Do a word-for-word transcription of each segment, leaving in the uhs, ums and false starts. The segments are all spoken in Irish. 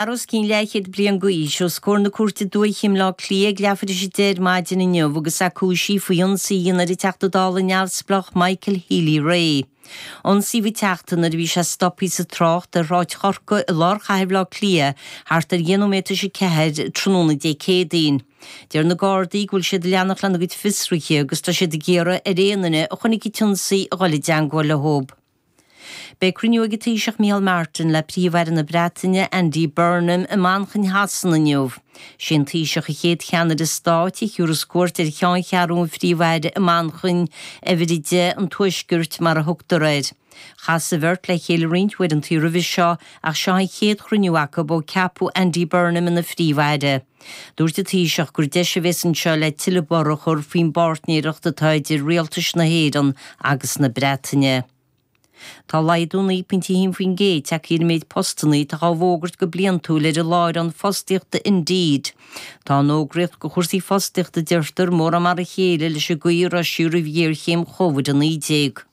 Os cionn leathchéad bliain d'aois, os comhair na cúirte dúiche i mBleá Cliath ag leathuair tar éis a deich ar maidin inniu agus é cúisithe faoi ionsaí a dhéanamh ar an Teachta Dála neamhspleách Michael Healy-Rae. Ionsaíodh an Teachta nuair a bhí sé stoptha sa trácht ar Shráid Chorcaí i lár chathair Bhaile Átha Cliath thart ar dheich nóiméad tar éis a ceathair tráthnóna Dé Céadaoin. Deir na Gardaí go bhfuil siad ag leanacht lena gcuid fiosruithe agus tá siad ag iarraidh ar aon duine a chonaic an t-ionsaí a dhul i dteagmháil leo. Beidh cruinniú ag an Taoiseach Micheál Martin le Príomh-Aire na Breataine Andy Burnham i Manchain Shasana inniu. Sé an Taoiseach an chéad cheannaire stáit a thabharfas cuairt ar cheanncheathrú an Phríomh-Aire i Manchain, uimhir a deich an Tuaiscirt mar a thugtar air. Chas an bheirt le chéile roinnt uaireanta roimhe seo ach seo an chéad chruinniú acu ó ceapadh Andy Burnham ina Phríomh-Aire. Dúirt an Taoiseach gur deis a bheas anseo le tuilleadh borradh a chur faoin bpáirtnéireacht atá idir rialtais na hÉireann agus na Breataine. Tá laghdú naoi bpointe a haon faoin gcéad tagtha ar an méid postanna atá á bhfógairt go bliantúil ar an láithreán fostaíochta Indeed. Tá an fhógraíocht do chúrsaí fostaíochta deirtear mórán mar a chéile leis an gcaoi a raibh sí roimh ghéarchéim Covid a naoi déag.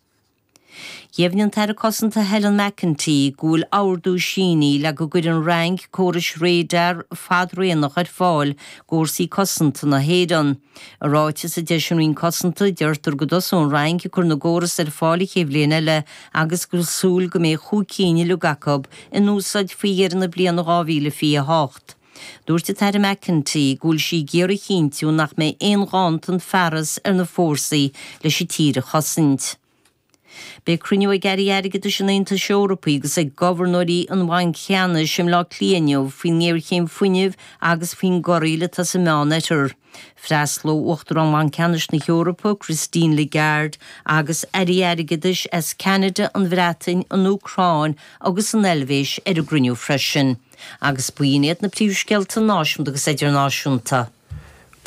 Dheimhnigh an tAire Cosanta Helen McEntee go bhfuil ordú sínithe le go gcuirfidh an Fhrainc córais radar fadraonach ar fáil d'fhórsaí cosanta na hÉireann. I ráiteas a d'eisigh an Roinn Cosanta, deirtear go dtosóidh an Fhrainc ag cur na gcóras ar fáil an chéad bhliain eile agus go bhfuil súil go mbeidh chúig cinn uilig acu in úsáid faoi dheireadh na bliana dhá mhíle fiche a hocht. Dúirt an tAire McEntee go bhfuil sí ag iarraidh a chinntiú nach mbeidh aon ghanntan fearas ar na fórsaí leis an tír a chosaint. Beidh cruinniú ag Airí Airgeadais an Aontais Eorpaigh agus ag gobharnóirí an Bhainc Cheannais i mBleá Cliath inniu faoin ngéarchéim fuinnimh agus faoin gcorraíl atá sa Meánoirthear. Freastalóidh Uachtarán Bhanc Ceannais na hEorpa, Christine Lagarde, agus Airí Airgeadais as Ceanada, an Bhreatain, an Úcráin agus an Eilvéis ar an gcruinniú freisin. Agus b'in iad na príomhscéalta náisiúnta agus idirnáisiúnta.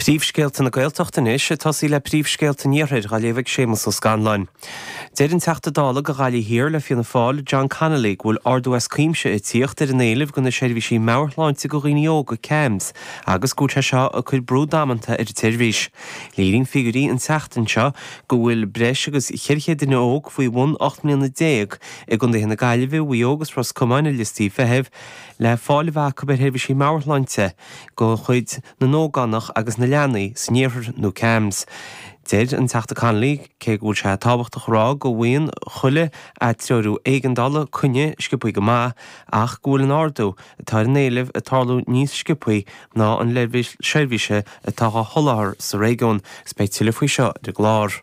Príomhscéalta na Gaeltachta anois ag tosaí le príomhscéalta an Iarthair á léamh ag Séamus Ó Scanláin. Deir an Teachta Dála do Ghaillimh Thiar le Fianna Fáil, John Connolly, go bhfuil ardú as cuimse ag tíocht ar an éileamh do na seirbhísí meabhairshláinte do dhaoine óga CAMHS agus go bhfuil sé seo ag cur brú damanta ar an tseirbhís. Léiríonn figiúirí an tseachtain seo go bhfuil breis agus ceithre chéad duine óg faoi bhun ocht mbliana déag i gcontaetha na Gaillimhe, Mhaigh Eo agus Ros Comáin ar liostaí feithimh le fáil a bheith acu ar sheirbhísí meabhairshláinte de chuid na n-ógánach agus na leanaí san iarthar nó CAMHS. Deir an Teachta Connolly cé go bhfuil sé tábhachtach a rá go bhfaigheann chuile atreorú éigeandála coinne sciobtha go maith ach go bhfuil an ardú atá ar an éileamh ag tarlú níos sciobtha ná an leibhéal seirbhíse atá á sholáthar sa réigiún. Is beidh tuilleadh faoi seo ar an gclár.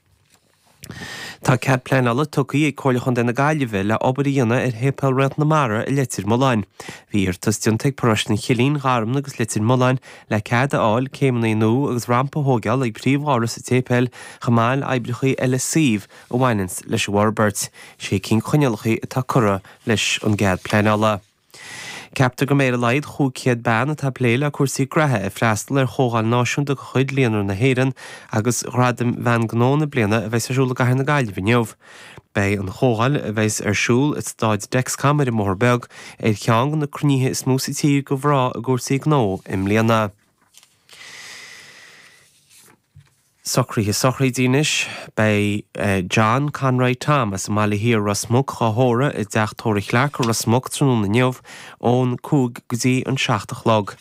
Tá cead pleanála tugtha ag Comhairle Chontae na Gaillimhe le obair a dhéanamh ar Shéipéal Réalt na Mara i Leitir Mealláin. Bhí iarratas déanta ag Paróiste an Chillín, Gharmna agus Leitir Mealláin le cead a fháil céimeanna nua agus rampa a thógáil ag príomhdhoras an tséipéil chomh maith le oibreacha eile suímh a bhaineanns leis an bhforbairt. Sé cinn coinníollacha atá curtha leis an gcead pleanála. Ceaptar go mbeidh ar a laghad chúig chéad bean atá ag plé le cúrsaí graithe ag freastal ar Chomhdháil Náisiúnta de chuid Líonra na hÉireann agus Ghradaim Bhean Gnó na Bliana a bheas ar siúl i gCathair na Gaillimhe inniu. Beidh an chomhdháil, a bheas ar siúl i Staid Dexcom ar an mBóthar Beag, ar cheann de na cruinnithe is mó sa tír do mhná i gcúrsaí gnó i mbliana. Socruithe sochraide anois. Beidh John Conroy Tom as an mBaile Thiar, Ros Muc, á thórramh i dteach tórraimh Chlarke i Ros Muc tráthnóna inniu ón cúig go dtí an seacht a chlog.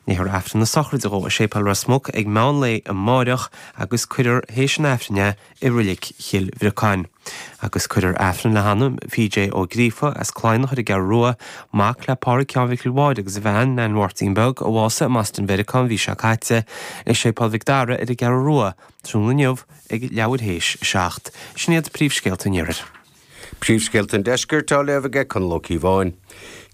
Léifear Aifreann na sochraide dhó i Séipéal Ros Muc ag meán lae amáireach agus cuirfear théis an Aifrinn é i Roilig Chill Bhriocáin. Agus cuirfear Aifreann le hanam P J Ó Gríofa as Cladhnach ar an gCeathrú Rua, mac le Pádraig Sheáin Mhicil Mháire agus a bhean, Nan Mháirtín Beag, a bhásaigh i mBoston Mheiriceá an mhí seo caite, i Séipéal Mhic Dara ar an gCeathrú Rua, tráthnóna inniu ag leathuair théis a seacht. Sin iad príomhscéalta an Iarthair. Príomhscéalta an Deiscirt á léamh aige Conall Ó Cíobháin.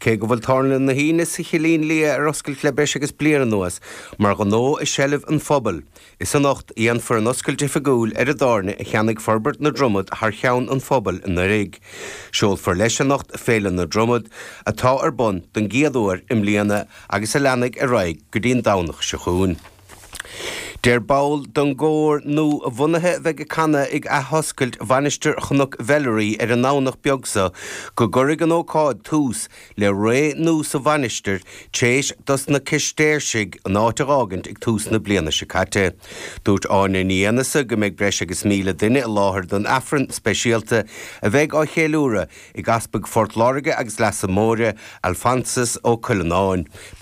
Cé go bhfuil Tábhairne na hAoine sa Chillín Liath ar oscailt le breis agus bliain anuas mar ghnó i seilbh an phobail, is anocht a dhéanfar an oscailt oifigiúil ar an dtábhairne a cheannaigh Forbairt na Dromad thar cheann an phobail anuraidh. Seolfar leis anocht Féile na Dromad, atá ar bun don gcéad uair i mbliana agus a leanfaidh ar aghaidh go dtí an Domhnach seo chugainn. Deir ball den gcór nua-bhunaithe a bheidh ag canadh ag athoscailt Mhainistir Chnoc Mheilearaí ar an nDomhnach beag seo go gcuirfidh an ócáid tús le ré nua sa mhainistir tar éis dos na Cistéirsigh an áit a fhágaint ag tús na bliana seo caite. Dúirt Áine Ní Aonghusa go mbeidh breis agus míle duine i láthair don Aifreann speisialta a bheidh á cheiliúradh ag Easpag Phort Láirge agus Leasa Móire Alphonsus Ó Cuileanáin.